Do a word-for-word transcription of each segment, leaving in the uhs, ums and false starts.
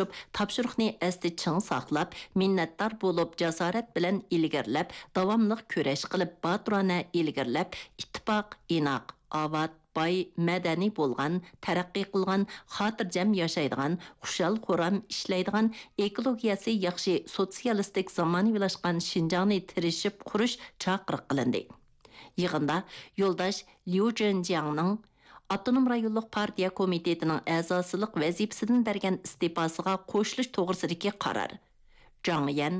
تۇرۇشۇپ، تاپشۇرۇقنى ئەستە چىڭ ساقلاپ، مىننەتدار بولۇپ، جاسارەت بىلەن ئىلگىرىلەپ، داۋاملىق كۈرەش قىلىپ، باتۇرانە ئىلگىرىلەپ، ئىتتىپاق، ئىناق، ئاۋات، باي، مەدەنىي بولغان، تەرەققىي قىلغان، خاتىرجەم ياشايدىغان، خۇشال-خۇرام ئىشلەيدىغان، ئېكولوگىيەسى ياخشى، سوتسىيالىستىك زامانىۋىلاشقان شىنجاڭنى تىرىشىپ قۇرۇش چاقىرىق قىلىندى. يىغىندا يولداش ليۇ جېنجياڭنىڭ ئاپتونوم رايونلۇق پارتىيە كومىتېتىنىڭ ئەزاسىلىق ۋەزىپىسىدىن بەرگەن ئىستېپاسىغا قوشۇلۇش توغرىسىدىكى قارار، جاڭ يەن،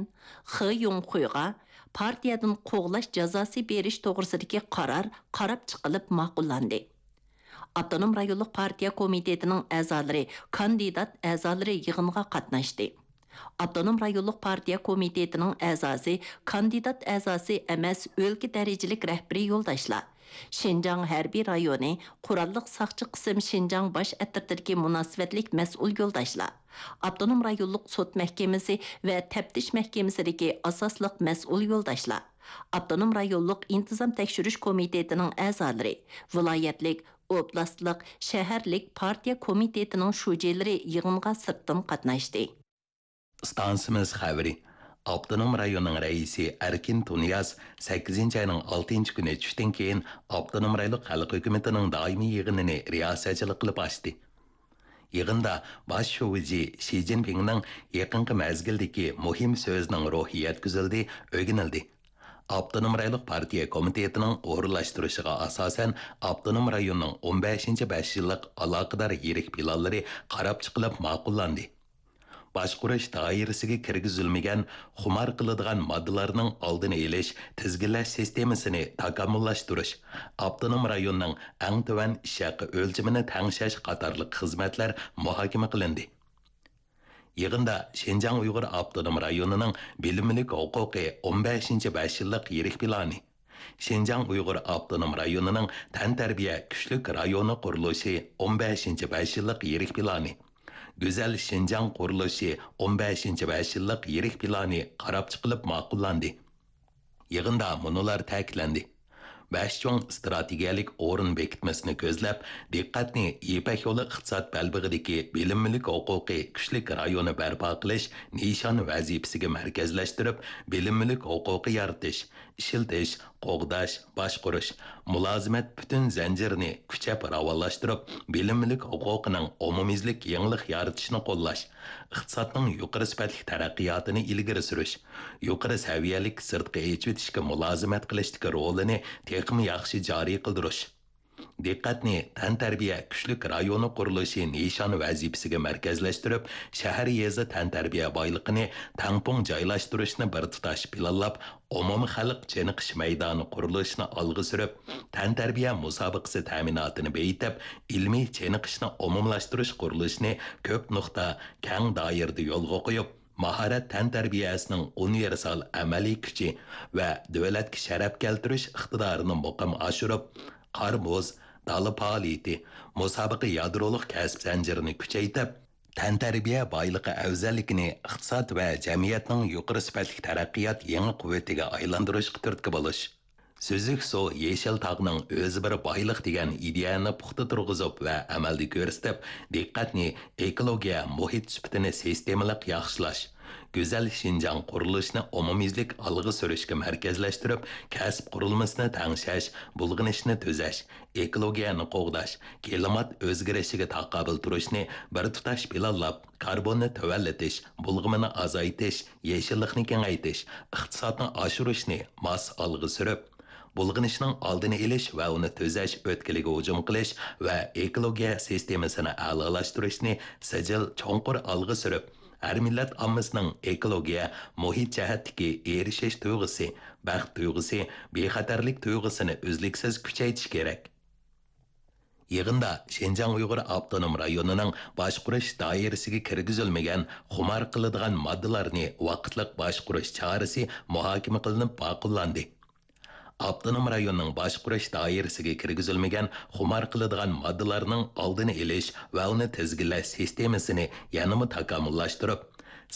خې يۇڭخۇيغا پارتىيەدىن قوغلاش جازاسى بېرىش توغرىسىدىكى قارار قاراپ چىقىلىپ ماقۇللاندى. ئاپتونوم رايونلۇق پارتىيە كومىتېتىنىڭ ئەزالىرى، كاندىدات ئەزالىرى يىغىنغا قاتناشتى. ئاپتونوم رايونلۇق پارتىيە كومىتېتىنىڭ ئەزاسى، كاندىدات ئەزاسى ئەمەس ئۆلكە دەرىجىلىك رەھبىرىي يولداشلار، شىنجاڭ ھەربىي رايونى قوراللىق ساقچى قىسىم شىنجاڭ باش ئەترىتىدىكى مۇناسىۋەتلىك مەسئۇل يولداشلار، ئاپتونوم رايونلۇق سوت مەھكىمىسى ۋە تەپتىش مەھكىمىسىدىكى ئاساسلىق مەسئۇل يولداشلار، ئاپتونوم رايونلۇق ئىنتىزام تەكشۈرۈش كومىتېتىنىڭ ئەزالىرى، ۋىلايەتلىك، ئوبلاستلىق، شەھەرلىك پارتىيە كومىتېتىنىڭ شۇجىلىرى يىغىنغا سىرتتىن قاتناشتى. ئىستانسىمىز خەۋىرى. ئاپتونوم رايوننىڭ رەئىسى ئەركىن تۇنىياز سەككىزىنچى ئاينىڭ ئالتىنچى كۈنى چۈشتىن كېيىن ئاپتونوم رايونلۇق خەلق ھۆكۈمىتىنىڭ دائىمىي يىغىنىنى رىياسەتچىلىك قىلىپ ئاچتى. يىغىندا باش شۇجى شى جىنپىڭنىڭ يېقىنقى مەزگىلدىكى مۇھىم سۆزىنىڭ روھى يەتكۈزۈلدى، ئۆگىنىلدى. ئاپتونوم رايونلۇق پارتىيە كومىتېتىنىڭ ئورۇنلاشتۇرۇشىغا ئاساسەن، ئاپتونوم رايوننىڭ ئون بەشىنچى بەش يىللىق ئالاقىدار يىرىك پىلانلىرى قاراپ چىقىلىپ ماقۇللاندى. باشقۇرۇش دائىرىسىگە كىرگۈزۈلمىگەن خۇمار قىلىدىغان ماددىلارنىڭ ئالدىنى ئېلىش، تىزگىنلەش سىستېمىسىنى تاكامۇللاشتۇرۇش، ئاپتونوم رايوننىڭ ئەڭ تۆۋەن ئىش ھەققى ئۆلچىمىنى تەڭشەش قاتارلىق خىزمەتلەر مۇھاكىمە قىلىندى. يىغىندا شىنجاڭ ئۇيغۇر ئاپتونوم رايونىنىڭ بىلىملىك ھوقۇقى ئون بەشىنچى بەش يىللىق يىرىك پىلانى، شىنجاڭ ئۇيغۇر ئاپتونوم رايونىنىڭ تەنتەربىيە كۈچلۈك رايونى قۇرۇلۇشى ئون بەشىنچى بەش يىللىق يىرىك پىلانى، گۈزەل شىنجاڭ قۇرۇلۇشى ئون بەشىنچى بەش يىللىق يىرىك پىلانى قاراپ چىقىلىپ ماقۇللاندى. يىغىندا مۇنۇلار تەكىتلەندى: بەش چوڭ ئىستراتېگىيەلىك ئورۇن بېكىتمىسىنى كۆزلەپ، دىققەتنى يىپەك يولى ئىقتىساد بەلبېغىدىكى بىلىم مۈلۈك ھوقۇقى كۈچلۈك رايونى بەرپا قىلىش نىشان ۋەزىپىسىگە مەركەزلەشتۈرۈپ، بىلىم مۈلۈك ھوقۇقى يارىتىش، ئىشلىتىش، قوغداش، باشقۇرۇش، مۇلازىمەت پۈتۈن زەنجىرىنى كۈچەپ راۋانلاشتۇرۇپ، بىلىم مۈلۈك ھوقۇقىنىڭ ئومۇميۈزلۈك يېڭىلىق يارىتىشىنى قوللاش، ئىقتىسادنىڭ يۇقىرى سۈپەتلىك تەرەققىياتىنى ئىلگىرى سۈرۈش، يۇقىرى سەۋىيەلىك سىرتقا ئېچىۋېتىشكە مۇلازىمەت قىلىشتىكى رولىنى تېخىمۇ ياخشى جارى قىلدۇرۇش. دىققەتنى تەنتەربىيە كۈچلۈك رايونى قۇرۇلۇشى نىشان ۋەزىپىسىگە مەركەزلەشتۈرۈپ، شەھەر، يېزا تەنتەربىيە بايلىقىنى تەڭپۇڭ جايلاشتۇرۇشنى بىر تۇتاش پىلانلاپ، ئومۇمىي خەلق چېنىقىش مەيدانى قۇرۇلۇشىنى ئالغا سۈرۈپ، تەنتەربىيە مۇسابىقىسى تەمىناتىنى بېيىتىپ، ئىلمىي چېنىقىشنى ئومۇملاشتۇرۇش قۇرۇلۇشىنى كۆپ نۇقتا، كەڭ دائىرىدە يولغا قويۇپ، ماھارەت تەنتەربىيەسىنىڭ ئۇنىۋېرسال ئەمەلىي كۈچى ۋە دۆلەتكە شەرەپ كەلتۈرۈش ئىقتىدارىنى مۇقىم ئاشۇرۇپ، قار-مۇز، دالا پائالىيىتى، مۇسابىقە يادرولۇق كەسىپ زەنجىرىنى كۈچەيتىپ، تەنتەربىيە بايلىقى ئەۋزەللىكىنى ئىقتىساد ۋە جەمئىيەتنىڭ يۇقىرى سۈپەتلىك تەرەققىيات يېڭى قۇۋۋىتىگە ئايلاندۇرۇشقا تۈرتكە بولۇش. سۈزۈك سۇ، يېشىل تاغنىڭ ئۆزى بىر بايلىق دېگەن ئىدىيەنى پۇختا تۇرغۇزۇپ ۋە ئەمەلدە كۆرسىتىپ، دىققەتنى ئېكولوگىيە مۇھىت سۈپىتىنى سىستېمىلىق ياخشىلاش، گۈزەل شىنجاڭ قۇرۇلۇشىنى ئومۇميۈزلۈك ئالغا سۈرۈشكە مەركەزلەشتۈرۈپ، كەسىپ قۇرۇلمىسىنى تەڭشەش، بۇلغىنىشنى تۈزەش، ئېكولوگىيەنى قوغداش، كىلىمات ئۆزگىرىشىگە تاقابىل تۇرۇشنى بىر تۇتاش پىلانلاپ، كاربوننى تۆۋەنلىتىش، بۇلغىمىنى ئازايتىش، يېشىللىقنى كېڭەيتىش، ئىقتىسادنى ئاشۇرۇشنى ماس ئالغا سۈرۈپ، بۇلغىنىشنىڭ ئالدىنى ئېلىش ۋە ئۇنى تۈزەش ئۆتكىلىگە ھۇجۇم قىلىش ۋە ئېكولوگىيە سىستېمىسىنى ئەلالاشتۇرۇشنى سىجىل چوڭقۇر ئالغا سۈرۈپ، ھەر مىللەت ئاممىسىنىڭ ئېكولوگىيە، مۇھىت جەھەتتىكى ئېرىشىش تۇيغۇسى، بەخت تۇيغۇسى، بىخەتەرلىك تۇيغۇسىنى ئۈزلۈكسىز كۈچەيتىش كېرەك. يىغىندا شىنجاڭ ئۇيغۇر ئاپتونوم رايونىنىڭ باشقۇرۇش دائىرىسىگە كىرگۈزۈلمىگەن خۇمار قىلىدىغان ماددىلارنى ۋاقىتلىق باشقۇرۇش چارىسى مۇھاكىمە قىلىنىپ ماقۇللاندى. ئاپتونوم رايوننىڭ باشقۇرۇش دائىرىسىگە كىرگۈزۈلمىگەن خۇمار قىلىدىغان ماددىلارنىڭ ئالدىنى ئېلىش ۋە ئۇنى تىزگىنلەش سىستېمىسىنى يەنىمۇ تاكامۇللاشتۇرۇپ،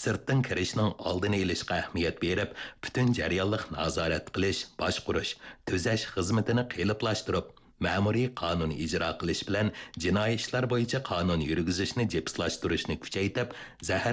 سىرتتىن كىرىشنىڭ ئالدىنى ئېلىشقا ئەھمىيەت بېرىپ، پۈتۈن جەريانلىق نازارەت قىلىش، باشقۇرۇش، تۈزەش خىزمىتىنى قېلىپلاشتۇرۇپ، مەمۇرىي قانۇن ئىجرا قىلىش بىلەن جىنايى ئىشلار بويىچە قانۇن يۈرگۈزۈشنى جىپسلاشتۇرۇشنى كۈچەيتىپ، زەھەر